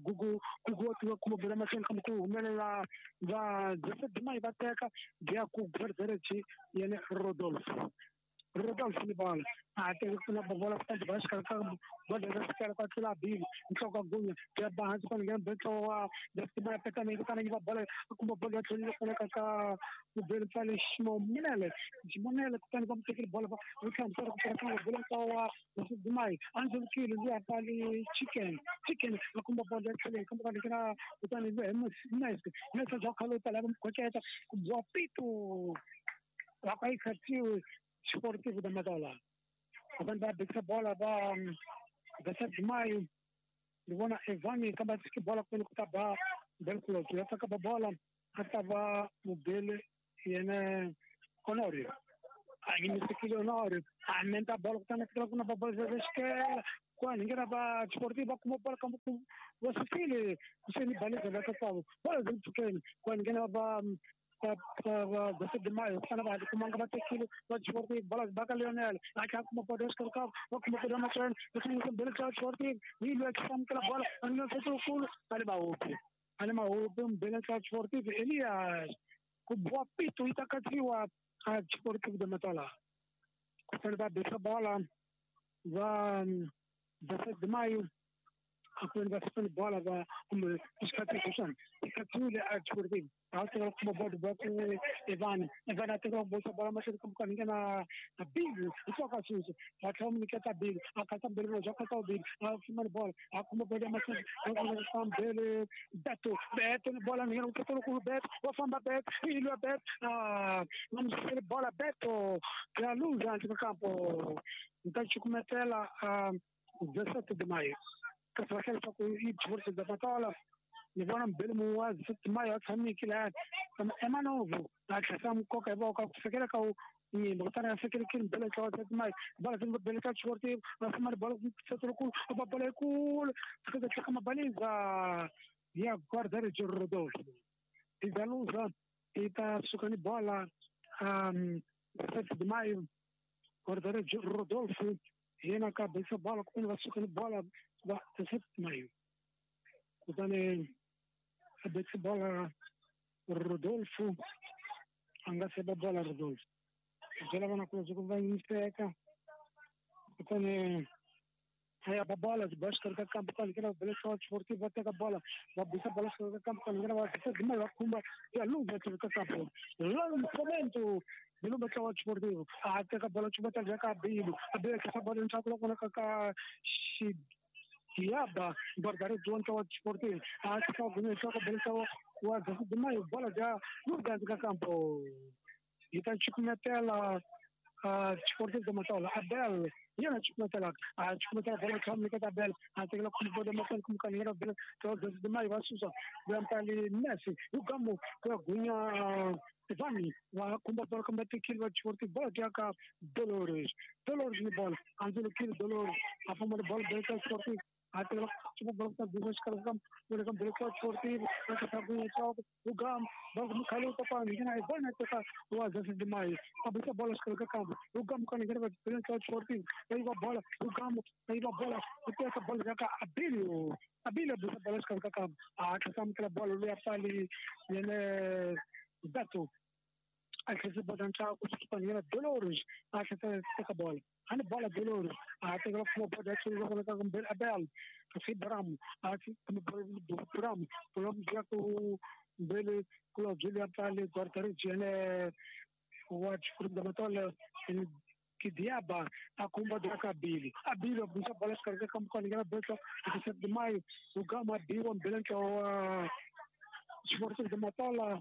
gugu gugu wa tiva kuma bola mahlweni kambe ku humelela va 17 de Maio va teka bya ku guarda-redes yena Rodolfo Rodolfo ni bola a teka kuna bola kutani ba xikarhi ka bola ra xikarhi ka tlula Bili nhloko ya gunya ya ba hansi kwale nghena betlo wa 17 de Maio pekana kutani yi va bola kuma bola ya tlhelo kumeka ka mubeli pfale Ximonele Ximonele kutani va mu tekile bola va tlhandlukela ku pfala bola ntlawa wa 17 de Maio a ndzulukile luya pfale Chicken Chicken a kuma bola ya tlhelo kambe ka nghena kutani hi Messi Messi bya khale pfala va mu khoceta ku biwa pito va ka yi khatiwe Sportivo da Matola. Kutani va betsa bola va 17 de Maio ni vona Evani kambe a tshiki bola kwele ku ta ba Belculoto ya tsaka ba bola a ta va mubele yena Honorio a yimisekile Honorio a menta bola kutani a tekela ku na ba bola xikela kwani nghena va Sportivo va kuma bola kambe va susile kuseni baleza va ka bola byi mpfhukeni kwani nghena va va 17 de Maio kutani va kumanga va tekile va Sportive bola ba ka Lionel a tlhela kuma bola exikarhi ka va kuma bola mahlweni va sungula mbele ka Sportive yi lwa amukela bola a ni fetokulu a le mahopi a le mahopi mbele ka Sportive Elias ku biwa pito yi ta katsiwa a Sportive de Matola kutani va betsa bola va 17 de Maio a ku va fika bola va kumbe xikhatsi xona xikhatsiwile a Sportive a tekela kuma bolo ba ku Evan Evan a tekela ku bola mahlweni ka mukani nghena Bili nhloko susa va tlhela mu nyiketa Bili a khatsa mbele bya khatsa Bili a fuma ni bola a kuma bolo ya mahlweni a mbele Beto Beto ni bola nghena ku ku Beto wa famba Beto ilwa Beto a na musele bola Beto ya luza handle ka kampo nta chukumetela a 17 de Maio kasi va hlaya leswaku i Sportive de Matola ni vona mbele mu wa 17 de Maio a tshamiki laha kambe Emanovo a tlhela mu koka hi voko ku fikela ka nyimba kutani a fikelekile mbele ntlawa 17 de Maio bola byi mbele ka Sportive va fuma ni bola ku ba bola yikulu fika tlhaka mabaliza ya guarda-redes Rodolfo Izaluza yi ta suka ni bola 17 de Maio guarda-redes Rodolfo yena ka bisa bola kutani va suka ni bola va 17 de Maio kutani a betsa bola Rodolfo a nga se ba bola Rodolfo byela vana ku loko va yimiseka kutani a ya ba bola byi ba xikarhi ka kampo kwale nghena bele Sportive va teka bola va bisa bola xikarhi ka kampo kwale nghena va 17 de Maio va khumba ya luza tlhelo ka kampo lançamento Bilumba ntlawa Sportive a teka bola chubata bya ka Bilu a Bilu tlhela bola ntshaku la kona ka ka Xidiaba guarda-redes wa ntlawa Sportive a teka gunya nhloko bele ntlawa wa 17 de Maio bola bya luza ka kampo yi ta chukumetela Sportive de Matola Abel yena chukumetela a chukumetela bola tlhela nyiketa Abel a tekela kuma bola mahlweni kumukani nghena bele ntlawa 17 de Maio va susa ya mpali Messi yugamu ku ya gunya Ivani va khumba bola kambe tekile va Sportive bola ya ka Dolores Dolores ni bola a ndzulukile Dolores a famba ni bola bele ka Sportive A teka bola xikarhi ka Sportivo o Gamo va mukhaluta kwani ngena hi bona teka wa 17 de Maio a bisa bola xikarhi ka kampo o Gamo kwani ngena va Sportivo va yiva bola o Gamo va yiva bola u teka bola ka Abilio Abilio bisa bola xikarhi ka kampo a tlhela amukela bola luya pfali yene Beto a tlhela bola ntshaku kwani ngena Dolores a tlhela teka bola ani bola Dolores a teka kuma bola ya tsolo ka ka Abel fi Bram a fi Bram Bram ya ku mbele kula Julia pale guarda-redes yene wa da Matola Kidiaba a kumba da Abili Abili bisa bola xikarhi ka kampo kwani ngena Beto 17 de Maio o Gama biwa mbele ntlawa wa Sportivo de Matola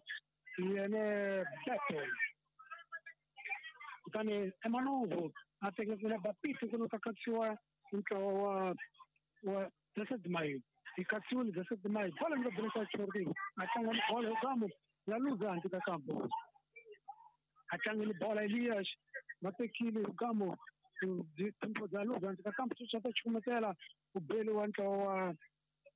yene Beto kutani Emanovo a teka kuna Bapito kuna katsiwa ntlawa wa 17 de Maio i katsiwile 17 de Maio bola nga Beto Sportivo a tlanga ni bola Gamo ya luza handle ka kampo a tlanga ni bola Elias va tekile Gamo timpo bya luza handle ka kampo swi ta chukumetela u beli wa ntlawa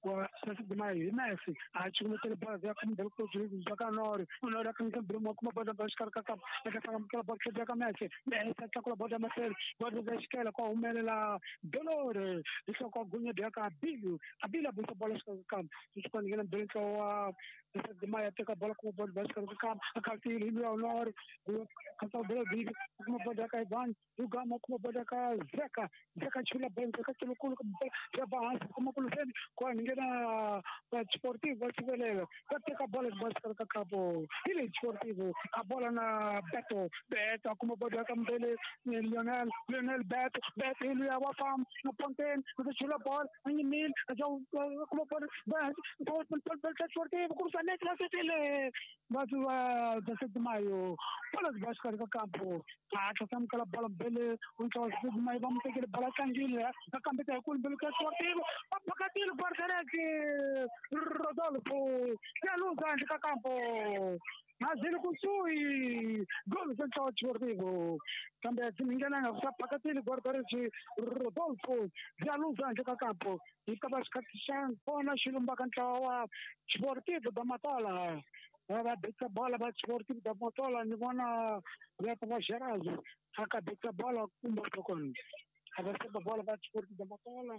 wa 17 de Maio hi Messi a chukumetela bola ya kumbe ku bya ka Nori Nori a kanga mbiri kuma bola ba xikarhi ka kampo eka tlanga bola bya ka Messi Messi a tlakula bola mahlweni bola bya xikela kwa humelela Dolores hi hloko a gunya bya ka Abilio Abilio a bisa bola xikarhi ka kampo swi kwani ngena mbiri ntlawa wa 17 de Maio a teka bola kuma bola bya xikarhi ka kampo a khatile hi luya Nori khatsa bola bibi kuma bola ya ka Ivan Ugama kuma bola ka Zeka Zeka chula bola ka tsulukulu ya ba hansi kuma kuluseni kwani ngena Sportivo va sivelela va teka bola ba xikarhi ka kampo hi le Sportivo a bola na Beto Beto a kuma bola ka mbele Lionel Lionel Beto Beto hi luya wa famba na Ponten u chula bola a nyimile a kuma bola ba Sportivo cruzamento va sesile va 17 de Maio bola ba xikarhi ka kampo a tlhela amukela bola mbele u ntlawa 17 de Maio va mu tekele bola tlangile a kambeta hi kulu mbele ka Sportivo va phakatile guarda-redes Rodolfo ya luza handle ka kampo mazili kusuhi gol za ntlawa Sportivo kambe dzi nga sa phakatile guarda-redes Rodolfo ya luza handle ka kampo hi ta va xikhathi xa kona xi lumbaka ntlawa wa Sportivo da Matola va betsa bola va Sportivo da Matola ni vona va ta va Gerazo a ka betsa bola kumbe kona a va seba bola va Sportivo da Matola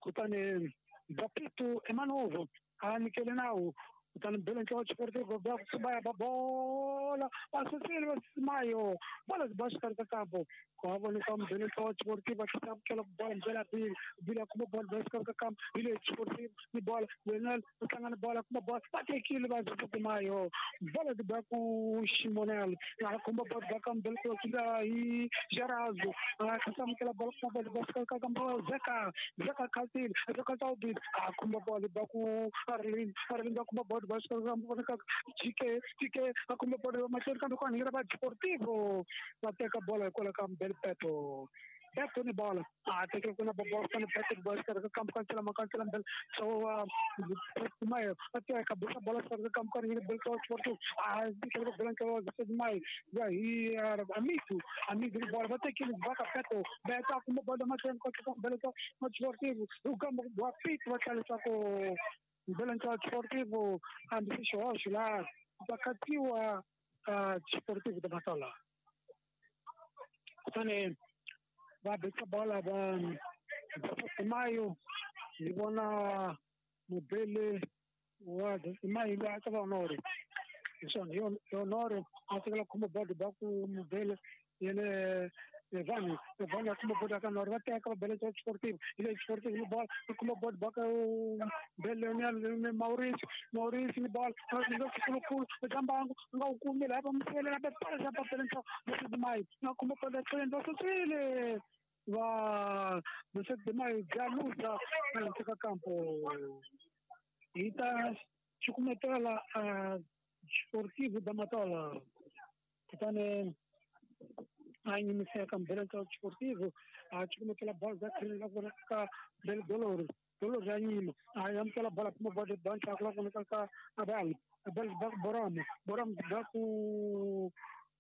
kutani Bapito Emanovo a nyikele nawu kutani mbele ntlawa Sportivo va va ya bola va susile va Maio bola ba xikarhi ka kampo ku ha voneka mbele ntlawa Sportivo va tlhela amukela bola mbele Abili Abili a kuma bola ba xikarhi ka kampo hi le Sportivo ni bola Lionel u tlanga ni bola kuma bola va tekile va 17 de Maio bola di ba ku Ximonel a khumba bola ba ka mbele ntlawa hi Gerazo a tlhela amukela bola kuma bola ba xikarhi ka kampo Zeka Zeka khatile Zeka Taubile a khumba bola ba ku Arlin Arlin a khumba bola ba xikarhi ka kampo voneka Chike Chike a khumba bola ba mahlweni kambe kwani ngena va Sportivo va teka bola hikwalaho ka mbele Beto Beto ni bola a teka kuna bola kana Beto ba xikarhi ka kampo kansela makansela mbele so Maio a teka bola bola xikarhi ka kampo kwani ngena mbele Sportivo a teka bola ntlawa 17 de Maio ya hi Amigo Amigo ni bola va tekile va ka Beto Beto a kuma bola mahlweni ka mbele Sportivo u kamba wa Pito va tlangisa ku mbele ntlawa Sportivo hambi xihoxo laha va katiwa Sportivo da Matola kutani va betsa bola va 17 de Maio hi vona mubele wa 17 de Maio loyi a ta va Honore hi swona hi Honore a tekela khumba bola ba ku mubele yene Evani Evani a kuma bola ka Nori va teka va bele Sportivo hi le Sportivo ni bola va kuma bola ba ka bele Lionel Mauricio Mauricio ni bola nga kulukulu eka mbangu nga wu kumi laha va mu sivelela va bola va bele ntlawa 17 de Maio nga kuma bola tlhelo va susile va 17 de Maio bya luza handle ka kampo hi ta cukumetela Sportivo da Matola kutani a nyimiseka mbele ntlawa Sportivo a cukumetela bola bya tlhelo la vona ka mbele Dolores Dolores ya nyima a amukela bola kuma bola ba ntlhaku la voneka ka Abel Abel ba Boram Boram ba ku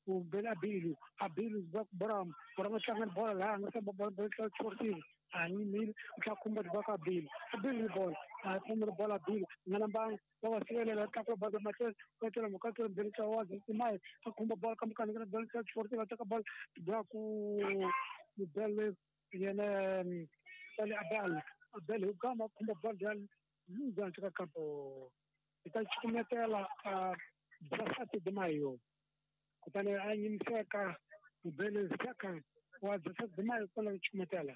ku bela Abilio Abilio ba Bram Bram tlanga bola laha nga samba bola bola Sportivo a nyimile u tlha khumba ba ka Abilio Abilio bola a khumba bola Abilio nga namba va va sivelela tlakula bola matlhelo va tlhela mukatelo mbele tsa wa Timai a khumba bola ka mukana ka bola Sportivo va teka bola ba ku bele yena Sale Abel Abel Hugama khumba bola ya Luza ka campo ita chukumetela a 17 de maio kutani a nyimiseka Bele Zaka wa 17 de maio kwala chukumetela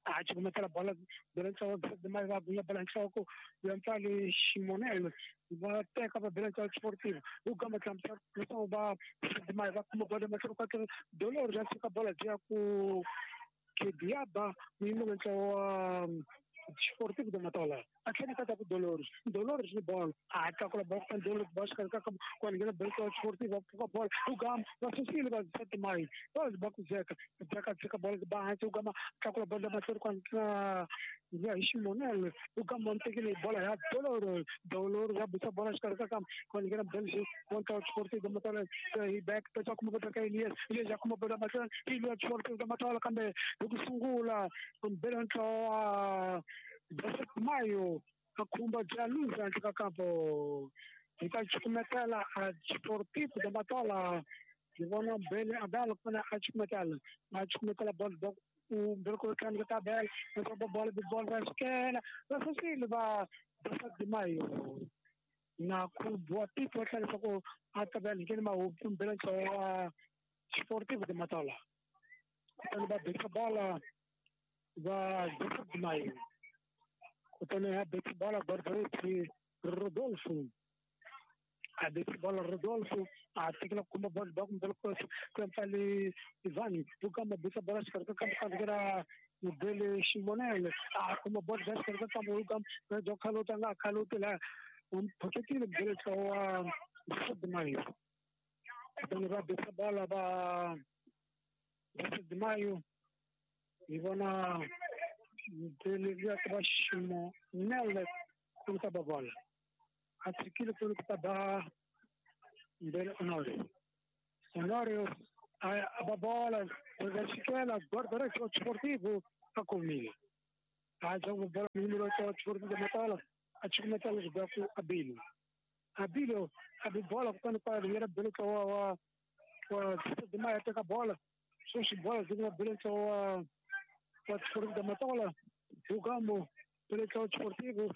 a chukumetela bola Bele tsa 17 de maio va buya bola nhloko ya mpfali Ximonelo va teka va Bele tsa Sportivo Hugama tlamsa leswaku va 17 de maio va kuma bola mahloko ka Dolor ya suka bola ya ku Kediaba muyimelo ntlawa wa Sportivo de Matola a tlhela ka ku Dolores Dolores ni bola a tlakula bola ka Dolores ba xikarhi ka ku nghena Bele Sportivo va pfuka bola Hugama va susile va 17 maio va ba ku zeka zeka tshika bola ba hansi Hugama tlakula bola mahlweni kwa ya hi Ximonelo Hugama va tekile bola ya Dolores Dolores ya busa bola xikarhi ka ku nghena Bele Sportivo de Matola hi back ta kuma bola ka Elias Elias ya kuma bola mahlweni Elias Sportivo de Matola kambe hi ku sungula Bele ntlawa 17 maio a khumba bya Luza handle ka kampo hi ta chukumetela a Sportivo de Matola hi vona Bele Abel kona a chukumetela bola ba ku Bele ku tlanga ka Abel va bola bola va xikela va susile va 17 maio na ku bua pipo tlhela leswaku a ta va nghena mahupfu Bele ntlawa Sportivo de Matola kutani va beka bola va 17 maio kutani a beka bola Barbaretti Rodolfo a beka bola Rodolfo a tekela kuma bola ba kumbe ku mpfali Ivan Hugama beka bola xikarhi ka kambe ka Bele Ximonelo a kuma bola xikarhi ka kambe Hugama byo khalota nga khaloti la phoketile Bele tsawa 17 maio kutani va beka bola va 17 maio hi vona Bele ya ba Ximonelo ku ta ba bola a tshikile ku ta ba Bele Honorio Honorio a ba bola va xikela guarda-redes Sportivo a kumile a joga bola número 8 Sportivo de Matola a chukumetela ba ku Abilio Abilio a bi bola kutani kwa yena Bele wa 17 de maio teka bola sweswi bola byi nga Bele wa Sportivo de Matola Hugamo Bele Sportivo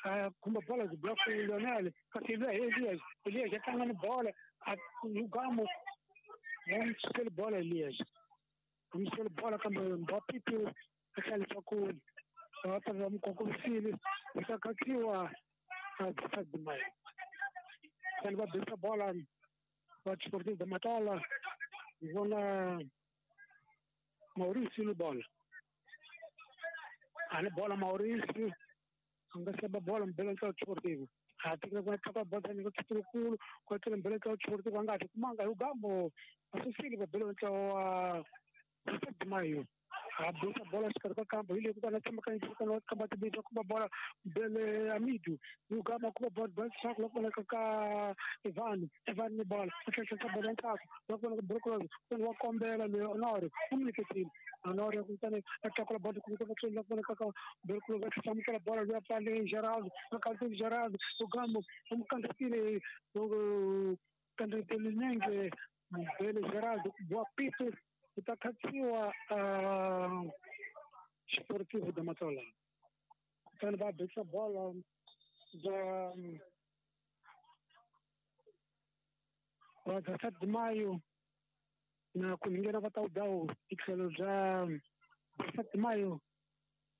a khumba bola byi ba ku Lionel kasi luya hi Elias Elias a tlanga ni bola a Hugamo va n'wi sukeli bola Elias va n'wi sukeli bola kambe Mbappé a tlhela leswaku va ta va n'wi kongomisile hi ta khatsiwa a 17 de maio kutani va bisa bola va Sportivo de Matola hi vona Mauricio ni bola a ni bola Mauricio a nga seba bola Mbele ntlawa Sportivo a tekela ku tlaka bola ni ku tsukulu ku tlela Mbele ntlawa Sportivo a nga ha kumanga Hugamo a susile va Bele ntlawa wa 17 de maio a bisa bola xikarhi ka kambo hi le ku ta na tsemakanyisa ka kamba tibisa kuma bola Bele Amidu Hugama kuma bola ba tlhaka loko vonaka ka Ivan Ivan ni bola a tlhela bola ntlhaka loko vonaka Brokolo kutani wa kombela loyi Honore u n'wi nyiketile Honore kutani a tlakula bola ku ta tlhela loko vonaka ka Brokolo va hlamukela bola loyi a pfale Geraldo a kantile Geraldo Hugamo u n'wi kandziyisile kandziyisile nenge Bele Geraldo bua pito ku ta khatsiwa Sportivo de Matola kutani va beka bola bya va 17 de maio na ku nghena va ta dawu hi tlhelo bya 17 de maio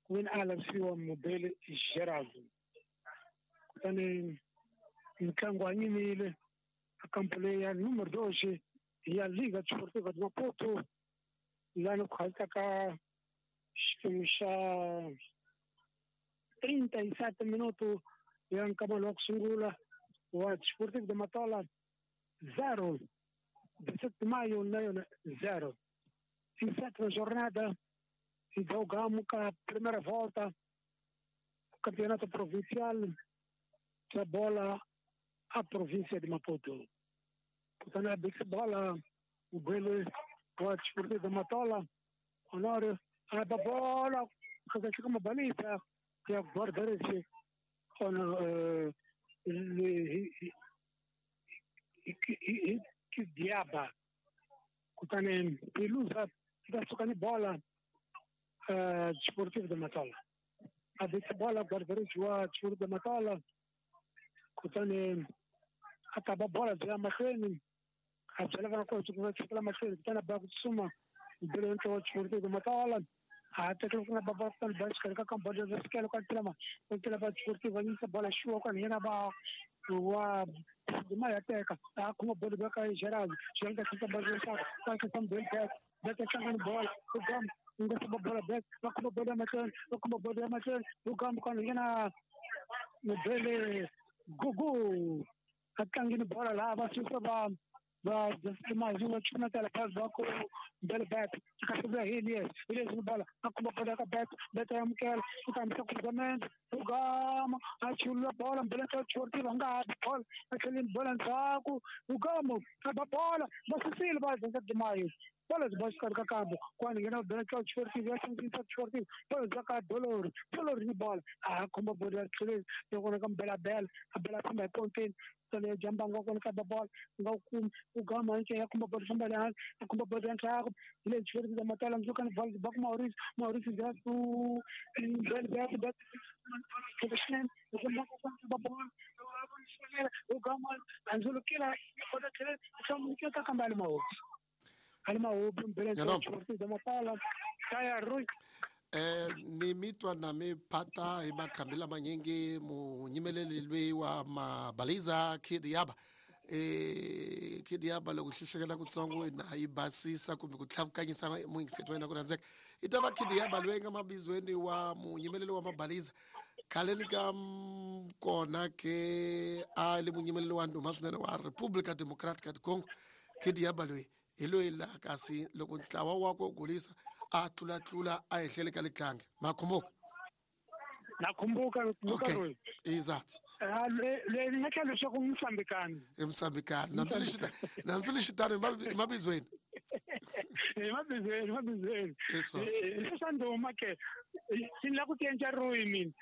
ku veni a lavisiwa Mubele Geraldo kutani ntlangu wa nyimile a kampo leyi ya número 2 ya Liga Desportiva de Maputo lani ku halita ka xiphemu xa 37 minuto ya nkamelo wa ku sungula wa Sportivo de Matola 0 17 de maio na yona 0 em sétima jornada e jogamos a primeira volta do Campeonato Provincial da bola à província de Maputo. Kutani a bikisa bola mubwele wa Desportivo de Matola Honório a ba bola kahle ka mabalisa ya guarda-redes Kidiaba kutani Pelusa ta suka ni bola Desportivo de Matola a bikisa bola guarda-redes wa Desportivo de Matola kutani a ta ba bola bya mahlweni a byela vana ku va tshikela mahlweni kutani a ba ku tsutsuma bele ntlo wa Desportivo de Matola a tekela ku nga ba ba ba xikarhi ka kamboda ya sikelo ka tlela ku tlela va Desportivo va yisa bola xuwa kwani yena ba wa ma ya teka a khoma bolo ba ka Gerald Gerald ka tlhisa bola xa ka tlhisa bolo back back a tlanga ni bola u gam nga saba bola back va khoma bolo ya mahlweni va khoma bolo ya mahlweni u gam kwani yena mubele gugu a tlangini bola laha va susa va va va chumatela phasi va ku bele back ka vuya hi Elias Elias ni bola a khoma bola ka back back ya amukela u ta hambisa cruzamento u gama a chulula bola mbele ka Desportivo nga ha bola a tlheleni bola ndzhaku u gama a ba bola va susile va dzenza Dimayo bola byi ba xikarhi ka kambo kwani nghena bela ka Desportivo ya hlangisa Desportivo bola bya ka Dolori Dolori ni bola a khoma bola ya tlheleni loko ka mbela bela a bela famba hi ponteni le jambanga kona ka ba bola nga ku u gama nche ya khoma bola famba le hansi a khoma bola ya ntlhaku hi le Desportivo de Matola ndzi ni bola ba ku Maurice Maurice ja ku bela back back ba bola u gama anzulukila bola tlhela ka kamba le Maurice ali mahobi mbele Desportivo de Matola kaya Rui ni mitwa na mi phata hi makhambi lamanyingi munyimeleli lweyi wa mabaliza Kidiaba Kidiaba loko hlehlekela kutsongo na yi basisa kumbe ku tlhavukanyisa muyingiseti wa yena ku rhandzeka i ta va Kidiaba loyi nga mabizweni wa munyimeleli wa mabaliza khaleni ka kona ke a le munyimeleli wa ndhuma swinene wa Republika Democratica du Congo Kidiaba loyi hi loyi laha kasi loko ntlawa wakwe wu golisa a tlulatlula a ehlele ka litlangi makhumbuka nakhumbuka okay exato leyi nga tlhela leswaku musambikani i musambikani nambilexitano hi mabizweni hi mabizweni hi mabizweni leswa ndhuma ke ni la ku tiendla ruyi mina.